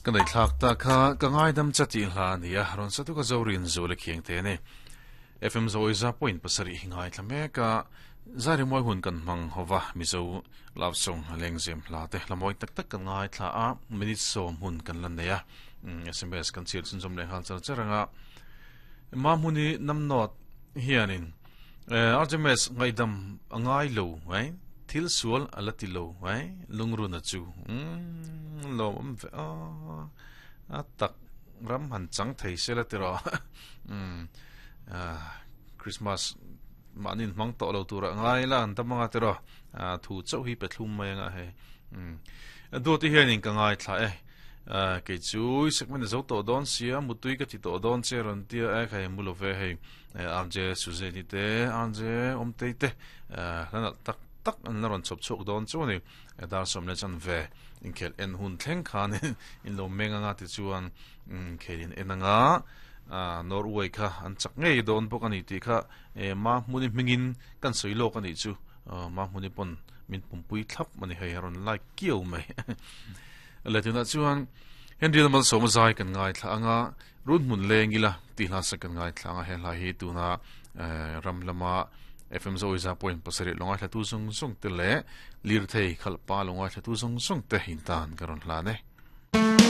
Ka nei thlak ta kha ka ngaidam cha tih hla a ni a, rawn sa tuk a Zorin Zual a khiang te a ni. FM Zawiza point pasarih hi ngaithla mek a, zai rimawi hun kan hmang ho va, Mizo love song lengzem hla te hla mawi tak tak kan ngaithla a, minute sawm hun kan la nei a, sms kan chhiar chhunzawm leh nghal char char ang a. Mahmuni Namnawt hianin RJMS ngaihdam a ngai lo mai, thil sual a la ti lo mai, lungruna chu lawm awm ve a, a tak ram han chang thei se la ti rawh. Christmas mahni hmang tawh lo tura ngai la an tam anga ti rawh, thu chauh hi pe thlum mai anga hei. Duati hianin ka ngaithla e. Kei chu i segment a zo tawh dawn sia, mutui ka ti tawh dawn che rawn tia e, kha hei mu lo ve hei. RJ Suzanne te, RJ Awmtei te hla nalh tak tak an la rawn chhawp chhuak dawn chu a ni. Dar sawm leh chan ve inkhel en hun thleng khan in lo meng anga tichuan inkhel in en anga Norway kha an chak ngei dawn bawk a ni tih kha Mahmuni hmingin kan sawi lawk a nih chu. Mahmuni pawn min pumpui thlap a ni hei a rawn like kiau mai. Le tunah chuan Henry Malsawma zai kan ngaithla anga Run hmun leng ila tih hla sak kan ngaithla anga he hla hi tuna ram lama FM Zoiza point pasarih lo ngaithla tu zawng zawng te leh lirthei khalhpa lo ngaithla tu zawng zawng te in tan ka rawn hlan e.